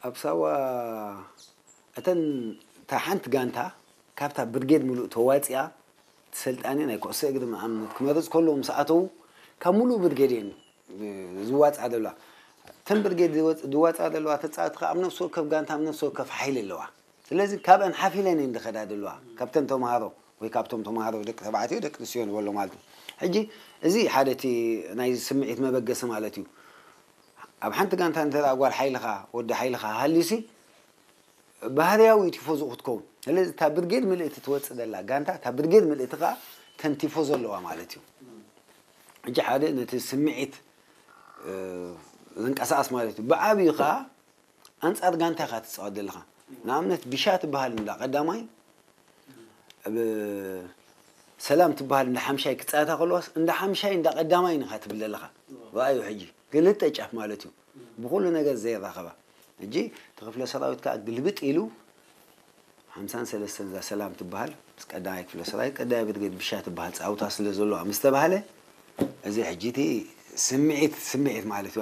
ኣብ ሳዋ እተን እታ ሓንቲ ጋንታ ካብታ ብርጌድ ሙሉእ ተዋፂኣ፣ እቲ ሰልጣኒ ናይ ኩዕሶ እግሪ ንኣብነት ክመርፅ ከለዉ ምስ ኣተዉ፣ ካብ ሙሉእ ብርጌድ እየን ዝዋፅኣ ዘለዋ። እተን ብርጌድ ዝወፅ- ዝዋፅኣ ዘለዋ ተፃወቲ ከዓ ኣብ ነፍሲ ወከፍ ጋንታ ኣብ ነፍሲ ወከፍ ሓይሊ ኣለዋ። ስለዚ ካብአን ሓፊለን እየን ዝኸዳ ዘለዋ፣ ካብተን ተምሃሮ ወይ ካብቶም ተምሃሮ ደቂ ተባዕትዮ ደቂ ኣንስትዮ ንበሎ ማለት እዩ። ሕጂ እዚ ሓደ እቲ ናይ ስምዒት መበገሲ ማለት እዩ። ኣብ ሓንቲ ጋንታ እንተ ጓል ሓይልኻ ወዲ ሓይልኻ ሃልዩሲ ባህርያዊ ቲፎዞ ክትከውን። ስለዚ እታ ብርጌድ ምልእቲ ትወፅእ ዘላ ጋንታ እታ ብርጌድ ምልእቲ ከዓ ተን ቲፎዞ ኣለዋ ማለት እዩ። ሕጂ ሓደ ነቲ ስምዒት ዝንቀሳቐስ ማለት እዩ። ብዓብዩ ከዓ ኣንጻር ጋንታ ኢኻ ትጻወት ዘለኻ። ንኣብነት ቢሻ ትበሃል እንዳ ቀዳማይ ሰላም ትበሃል እንዳ ሓምሻይ ክጻወታ ከለዋስ እንዳ ሓምሻይ እንዳ ቀዳማይ ኢኻ ትብል ዘለኻ። ረኣዩ ሕጂ ክልተ ጫፍ ማለት እዩ። ብኹሉ ነገር ዘይራኸባ። ሕጂ እቲ ክፍለ ሰራዊት ከዓ ግልብጥ ኢሉ ሓምሳን ሰለስተን እዛ ሰላም ትበሃል ምስ ቀዳማይ ክፍለ ሰራዊት ቀዳማይ ብርጌድ ቢሻ ትበሃል ጻውታ ስለ ዘለዋ ምስ ተባህለ እዚ ሕጂ እቲ ስምዒት ስምዒት ማለት እዩ።